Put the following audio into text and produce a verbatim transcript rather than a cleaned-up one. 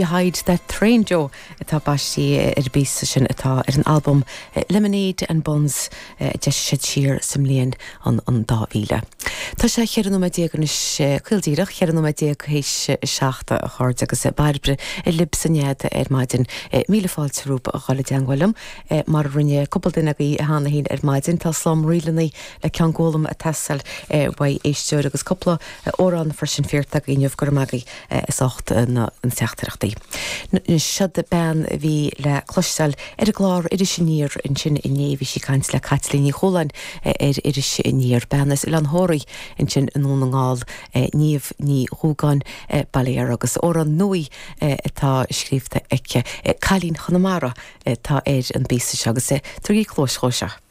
Hide That Train Joe atá baistí ar an bpíosa sin atá ar an albam Lemonade and Buns a d'eisigh siad siar sa mbliain an an dá mhíle. Tá sé cheithre nóiméad déag anois caol díreach cheithre nóiméad déag théis a seacht a chairde agus Bairbre libh san nead ar maidin míle fáilte romhaibh a dhul i dteagmháil liom mar a rinne cúpla duine agaibh cheana féin ar maidin tá slám ríleanna le ceann gólam ag teastáil uaidh éisteoir agus cúpla amhrán freisin fíorta agaibh inniu go raibh maith agaibh as ucht na teachtaireachtaí. Seod bean a bhí le cloisteáil ar an gclár Iris Aniar ansin inné bhí sí ag caint le Caitlín Ní Chualáin ar Iris Aniar bean as Oileán Thoraí ansin i nDún na nGall Niamh Ní Dhúgáin Baile agus amhrán nua atá scríofa aici Cailín Chonamara atá ar an bpíosa seo agus tugaigí cluas dhó seo.